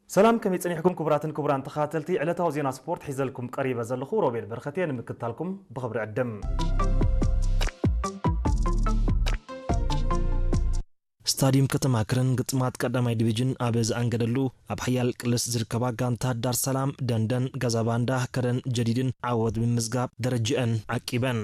ሰላም፣ ከመይ ጸኒሕኩም ክቡራትን ክቡራን ተኸታተልቲ ዕለታዊ ዜና ስፖርት? ሒዘልኩም ቀሪበ ዘለኹ ሮቤል በረኸት እየ። ንምክትታልኩም ብኽብሪ ዕድም። ስታዲየም ከተማ ከረን ግጥማት ቀዳማይ ዲቪዥን ኣብ ዝኣንገደሉ፣ ኣብ ሓያል ቅልስ ዝርከባ ጋንታት ዳር ሰላም፣ ደንደን፣ ገዛባንዳ፣ ከረን ጀዲድን ዓወት ብምምዝጋብ ደረጅአን ዓቂበን።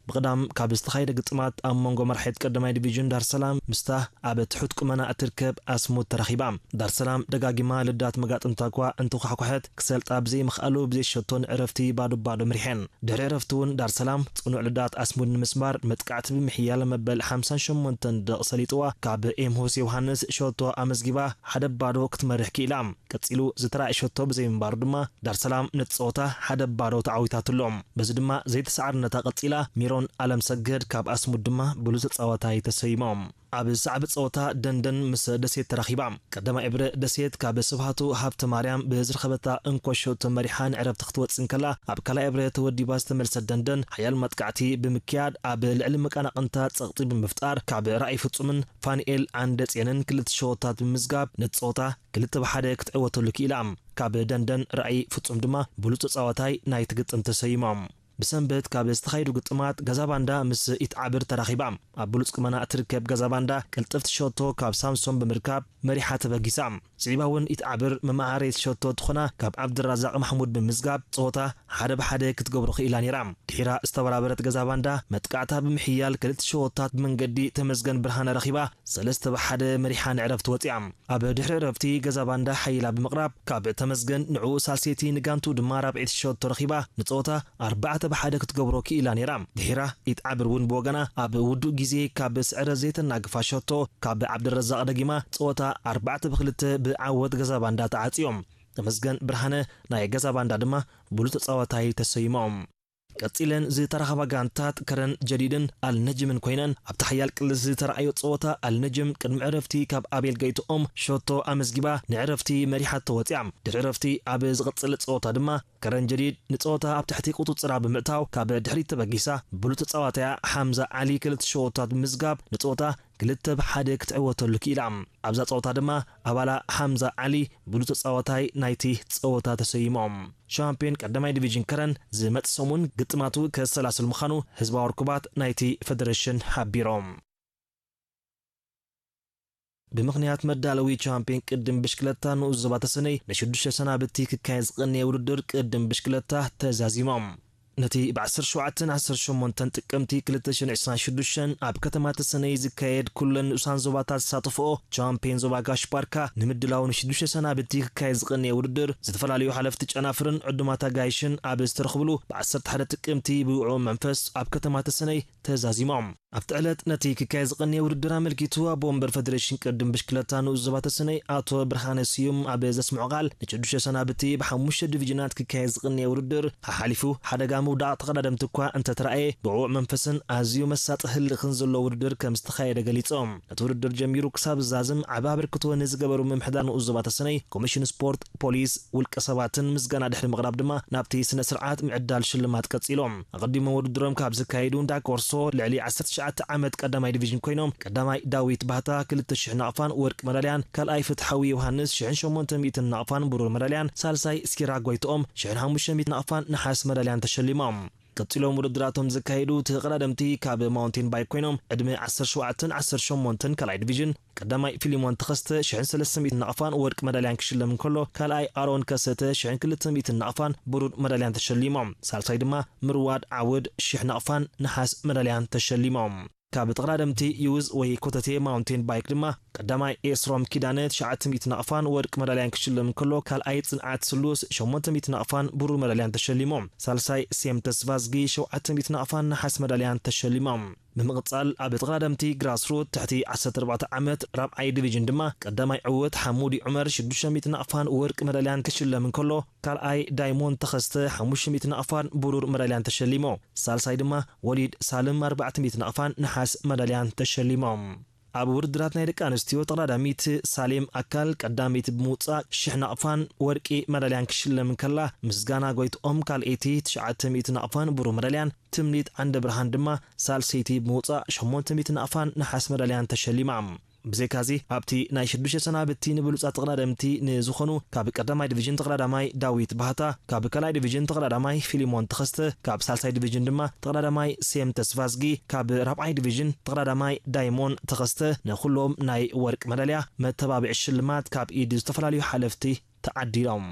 ብቕዳም ካብ ዝተኻየደ ግጥማት ኣብ መንጎ መራሒት ቀዳማይ ዲቪዥን ዳር ሰላም ምስታ ኣብ ትሑት ቁመና እትርከብ ኣስሙድ ተራኺባ። ዳር ሰላም ደጋጊማ ልዳት መጋጥምታ እኳ እንተኳሕኳሐት፣ ክሰልጣ ብዘይምኽኣሉ ብዘይ ሸቶ ንዕረፍቲ ባዶ ባዶ ምሪሐን። ድሕሪ ዕረፍቲ እውን ዳር ሰላም ጽኑዕ ልዳት ኣስሙድ ንምስባር መጥቃዕቲ ብምሕያል መበል ሓምሳን ሸሞንተን ደቕ ሰሊጥዋ ካብ ኤምሆስ ዮሃንስ ሸቶ ኣመዝጊባ ሓደ ባዶ ክትመርሕ ክኢላ። ቀጺሉ ዝተራእየ ሸቶ ብዘይምንባሩ ድማ ዳር ሰላም ነቲ ጸወታ ሓደ ባዶ ተዓዊታትሎም። በዚ ድማ ዘይተሰዓርነታ ቀጺላ፣ ሚሮን ኣለምሰገድ ካብ ኣስሙድ ድማ ብሉጽ ተጻዋታይ ተሰይሞም። ኣብ ሳዕቢ ጸወታ ደንደን ምስ ደሴት ተራኺባ። ቀዳማይ ዕብረ ደሴት ካብ ስብሃቱ ሃብተ ማርያም ብዝረኸበታ እንኮ ሸቶ መሪሓ ንዕረፍቲ ክትወጽእ እንከላ፣ ኣብ ካልኣይ ዕብረ ተወዲባ ዝተመልሰት ደንደን ሓያል መጥቃዕቲ ብምክያድ ኣብ ልዕሊ መቃናቕንታ ጸቕጢ ብምፍጣር ካብ ራእይ ፍጹምን ፋንኤል ዓንደጼንን ክልተ ሸቶታት ብምምዝጋብ ነቲ ጸወታ ክልተ ብሓደ ክትዕወተሉ ክኢላ። ካብ ደንደን ራእይ ፍጹም ድማ ብሉጽ ተጻዋታይ ናይቲ ግጥም ተሰይሞም። ብሰንበት ካብ ዝተኻየዱ ግጥማት ገዛ ባንዳ ምስ ኢትዓብር ተራኺባ። ኣብ ብሉጽ ቁመና እትርከብ ገዛ ባንዳ ቅልጥፍቲ ሸቶ ካብ ሳምሶን ብምርካብ መሪሓ ተበጊሳ። ስዒባ እውን ኢትዓብር መመሃረይቲ ሸቶ ትኾና ካብ ዓብድራዛቕ ማሕሙድ ብምዝጋብ ጸወታ ሓደ ብሓደ ክትገብሮ ክኢላ ነይራ። ድሒራ ዝተበራበረት ገዛ ባንዳ መጥቃዕታ ብምሕያል ክልተ ሸቶታት ብመንገዲ ተመስገን ብርሃነ ረኺባ ሰለስተ ብሓደ መሪሓ ንዕረፍቲ ወጺኣ። ኣብ ድሕሪ ዕረፍቲ ገዛ ባንዳ ሓይላ ብምቕራብ ካብ ተመስገን ንዕኡ ሳልሰይቲ ንጋንቱ ድማ ራብዐይቲ ሸቶ ረኺባ ንጸወታ ኣርባዕተ ብሓደ ክትገብሮ ክኢላ ነይራ። ድሒራ ኢትዓብር እውን ብወገና ኣብ ውዱእ ግዜ ካብ ስዕረት ዘይተናግፋ ሸቶ ካብ ዓብደረዛቕ ደጊማ ጸወታ ኣርባዕተ ብክልተ ብዓወት ገዛ ባንዳ ተዓጽዮም። ተመስገን ብርሃነ ናይ ገዛ ባንዳ ድማ ብሉጽ ተጻዋታይ ተሰይሞም። ቀጺለን ዝተራኸባ ጋንታት ከረን ጀዲድን ኣልነጅምን ኮይነን ኣብቲ ሓያል ቅልስ ዝተረኣዮ ጸወታ ኣልነጅም ቅድሚ ዕረፍቲ ካብ ኣቤል ገይትኦም ሸቶ ኣመዝጊባ ንዕረፍቲ መሪሓቶ ወጺኣ። ድሕሪ ዕረፍቲ ኣብ ዝቕጽል ጸወታ ድማ ከረን ጀዲድ ንጸወታ ኣብ ትሕቲ ቁጽጽራ ብምእታው ካብ ድሕሪት ተበጊሳ ብሉጽ ተጻዋታያ ሓምዛ ዓሊ ክልተ ሸቶታት ብምዝጋብ ንጸወታ ክልተ ብሓደ ክትዕወተሉ ክኢላ። ኣብዛ ጸወታ ድማ ኣባላ ሓምዛ ዓሊ ብሉጽ ተጻዋታይ ናይቲ ጸወታ ተሰይሞም። ሻምፒዮን ቀዳማይ ዲቪዥን ከረን ዝመጽእ ሰሙን ግጥማቱ ከሰላስል ምዃኑ ህዝባዊ ርኩባት ናይቲ ፈደረሽን ሓቢሮም። ብምኽንያት መዳለዊ ቻምፒዮን ቅድም ብሽክለታ ንኡስ ዞባ ተሰነይ ንሽዱሽተ ሰናብቲ ክካየድ ዝቐነየ ውድድር ቅድም ብሽክለታ ተዛዚሞም። ነቲ ብ ዓሰርተ ሸውዓተን ዓሰርተ ሸሞንተን ጥቅምቲ ክልተ ሽሕን ዕስራን ሽዱሽተን ኣብ ከተማ ተሰነይ ዝካየድ ኩለን ንኡሳን ዞባታት ዝሳተፍኦ ቻምፒዮን ዞባ ጋሽ ባርካ ንምድላው ንሽዱሽተ ሰናብቲ ክካየድ ዝቐነየ ውድድር ዝተፈላለዩ ሓለፍቲ ጨናፍርን ዕዱማት ኣጋይሽን ኣብ ዝተረኽብሉ ብ ዓሰርተ ሓደ ጥቅምቲ ብውዕኡ መንፈስ ኣብ ከተማ ተሰነይ ተዛዚሞም። ኣብቲ ዕለት ነቲ ክካየድ ዝቐነየ ውድድር ኣመልኪቱ ኣቦ ወንበር ፈደሬሽን ቅድም ብሽክለታ ንኡስ ዞባ ተሰነይ ኣቶ ብርሃነ ስዩም ኣብ ዘስምዖ ቃል ንሽዱሽተ ሰናብቲ ብሓሙሽተ ዲቪዥናት ክካየድ ዝቐነየ ውድድር ሓሓሊፉ ሓደጋ ምውዳቕ ተቐዳደምቲ እኳ እንተተራእየ ብዕዉዕ መንፈስን ኣዝዩ መሳጢ ህልኽን ዘለዎ ውድድር ከም ዝተኻየደ ገሊጾም። ነቲ ውድድር ጀሚሩ ክሳብ ዝዛዝም ዓቢ ኣበርክቶ ንዝገበሩ ምምሕዳር ንኡስ ዞባ ተሰነይ ኮሚሽን ስፖርት ፖሊስ ውልቀ ሰባትን ምስጋና ድሕሪ ምቕራብ ድማ ናብቲ ስነ ስርዓት ምዕዳል ሽልማት ቀጺሎም። ኣቐዲሞም ውድድሮም ካብ ዘካየዱ እንዳ ኮርሶ ልዕሊ ዓሰርተ ትሽዓተ ዓመት ቀዳማይ ዲቪዥን ኮይኖም ቀዳማይ ዳዊት ባህታ ክልተ ሽሕ ናቕፋን ወርቂ መዳልያን፣ ካልኣይ ፍትሓዊ ዮሃንስ ሽሕን ሸሞንተ ሚእትን ናቕፋን ብሩር መዳልያን፣ ሳልሳይ እስኪራ ጎይትኦም ሽሕን ሓሙሽተ ሚእትን ናቕፋን ነሓስ መዳልያን ተሸሊሞም። ቀጺሎም ውድድራቶም ዘካየዱ ተቐዳደምቲ ካብ ማውንቴን ባይክ ኮይኖም ዕድመ ዓሰርተ ሸውዓተን ዓሰርተ ሸሞንተን ካልኣይ ዲቪዥን ቀዳማይ ፊሊሞን ተኸስተ ሽሕን ሰለስተ ሚእትን ናቕፋን ወርቂ መዳልያን ክሽለም እንከሎ ካልኣይ ኣሮን ከሰተ ሽሕን ክልተ ሚእትን ናቕፋን ብሩር መዳልያን ተሸሊሞም። ሳልሳይ ድማ ምርዋድ ዓውድ ሽሕ ናቕፋን ነሓስ መዳልያን ተሸሊሞም። ካብ ተቐዳደምቲ ዩዝ ወይ ኮተቴ ማውንቴን ባይክ ድማ ቀዳማይ ኤስሮም ኪዳነ ትሽዓተ ሚእቲ ናቕፋን ወርቂ መዳልያን ክሽለም እንከሎ ካልኣይ ጽንዓት ስሉስ ሸሞንተ ሚእቲ ናቕፋን ብሩር መዳልያን ተሸሊሞም። ሳልሳይ ሴም ተስፋዝጊ ሸውዓተ ሚእቲ ናቕፋን ነሓስ መዳልያን ተሸሊሞም። ብምቕጻል ኣብ ተቐዳደምቲ ግራስሩት ትሕቲ ዓሰርተ ኣርባዕተ ዓመት ራብዓይ ዲቪዥን ድማ ቀዳማይ ዕወት ሓሙዲ ዑመር ሽዱሽተ ሚእቲ ናቕፋን ወርቂ መዳልያን ክሽለም እንከሎ ካልኣይ ዳይሞንድ ተኸስተ ሓሙሽተ ሚእቲ ናቕፋን ብሩር መዳልያን ተሸሊሞ። ሳልሳይ ድማ ወሊድ ሳልም ኣርባዕተ ሚእቲ ናቕፋን ነሓስ መዳልያን ተሸሊሞም። ኣብ ውድድራት ናይ ደቂ ኣንስትዮ ተቐዳዳሚት ሳሌም ኣካል ቀዳመይቲ ብምውጻእ ሽሕ ናቕፋን ወርቂ መዳልያን ክሽለም እንከላ ምስጋና ጎይትኦም ካልኣይቲ ትሽዓተ ሚእቲ ናቕፋን ብሩር መዳልያን ትምኒት ዓንደ ብርሃን ድማ ሳልሰይቲ ብምውጻእ ሸሞንተ ሚእቲ ናቕፋን ነሓስ መዳልያን ተሸሊማ። ብዘይካዚ ኣብቲ ናይ ሽዱሽተ ሰናብቲ ንብሉጻት ተቐዳደምቲ ንዝኾኑ ካብ ቀዳማይ ዲቪዥን ተቐዳዳማይ ዳዊት ባህታ፣ ካብ ካልኣይ ዲቪዥን ተቐዳዳማይ ፊሊሞን ተኸስተ፣ ካብ ሳልሳይ ዲቪዥን ድማ ተቐዳዳማይ ሴም ተስፋዝጊ፣ ካብ ራብዓይ ዲቪዥን ተቐዳዳማይ ዳይሞን ተኸስተ ንኹሎም ናይ ወርቂ መዳልያ መተባብዒ ሽልማት ካብ ኢድ ዝተፈላለዩ ሓለፍቲ ተዓዲሎም።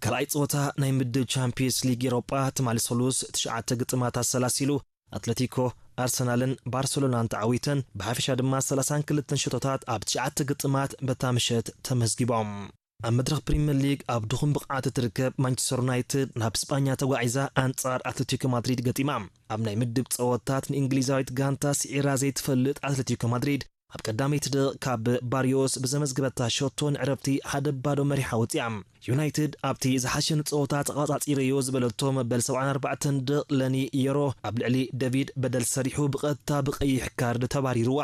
ካልኣይ ጸወታ ናይ ምድብ ቻምፒየንስ ሊግ ኤሮጳ ትማሊ ሰሉስ ትሽዓተ ግጥማት ኣሰላሲሉ ኣትለቲኮ፣ ኣርሰናልን ባርሰሎናን ተዓዊተን ብሓፈሻ ድማ ሰላሳን ክልተን ሸቶታት ኣብ ትሽዓተ ግጥማት በታ ምሸት ተመዝጊቦም። ኣብ መድረኽ ፕሪምየር ሊግ ኣብ ድኹም ብቕዓት እትርከብ ማንቸስተር ዩናይትድ ናብ ስጳኛ ተጓዒዛ ኣንጻር ኣትለቲኮ ማድሪድ ገጢማ። ኣብ ናይ ምድብ ጸወታት ንእንግሊዛዊት ጋንታ ስዒራ ዘይትፈልጥ ኣትለቲኮ ማድሪድ ኣብ ቀዳመይቲ ደቕ ካብ ባርዮስ ብዘመዝገበታ ሸቶ ንዕረፍቲ ሓደ ባዶ መሪሓ ወጺኣ። ዩናይትድ ኣብቲ ዝሓሸኒ ጸወታ ተቐጻጺረዮ ዝበለቶ መበል ሰብዓን ኣርባዕተን ደቕ ለኒ የሮ ኣብ ልዕሊ ደቪድ በደል ሰሪሑ ብቐጥታ ብቐይሕ ካርድ ተባሪርዋ።